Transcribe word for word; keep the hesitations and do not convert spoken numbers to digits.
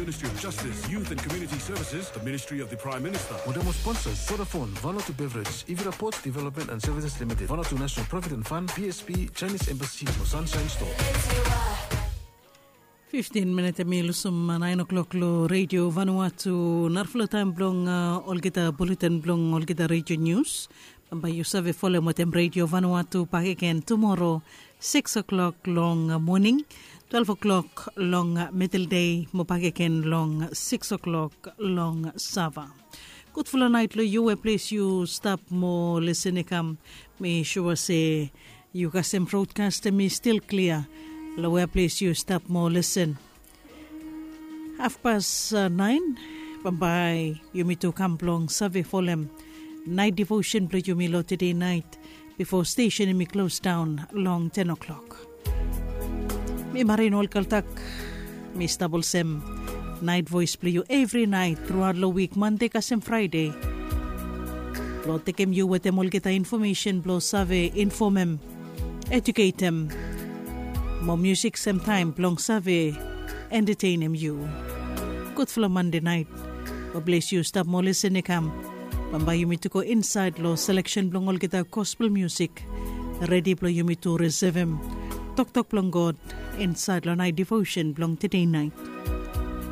Ministry of Justice, Youth and Community Services, the Ministry of the Prime Minister. Modemo sponsors, Vodafone, Vanuatu Beverage, Ivira Ports Development and Services Limited, Vanuatu National Provident Fund, B S P, Chinese Embassy, mo Sunshine Store. Fiftin minit em i lusim nain o'clock lo Radio Vanuatu. Narafala taem blong uh, olgeta bulletin blong olgeta radio news. Bambae yu save folem wetem Radio Vanuatu bakegen tumoro six o'clock long uh, moning, twelve o'clock long uh, middle day, mo bakegen long uh, six o'clock long sava. Gudfala naet lo yu we ples yu stap mo lesen i kam. Mi sua se yu kasem broadcast em i stil klia lo we ples yu stap mo lesen. Hafpas uh, naen, bambae yumi tu kam blong save folem naet devotion blo yumi lo tede naet, bifo stesen em i klos daon long ten o'clock. Mi Marin Olkaltak, mi stap olsem naet voes blo yu evri naet truaot lo wik, Mande kasem Fraede, blo tekem yu wetem olgeta infomesen blo save infomem, eduketem, mo musik semtaem blong save entetenem yu. Gudfala Mande naet. Mo ples yu stap mo lesen i kam. Bambae yumi tu go insaed lo seleksen blong olgeta gospel musik, redi blo yumi tu risivim toktok blong God insaed lo naet devotion blong tede naet.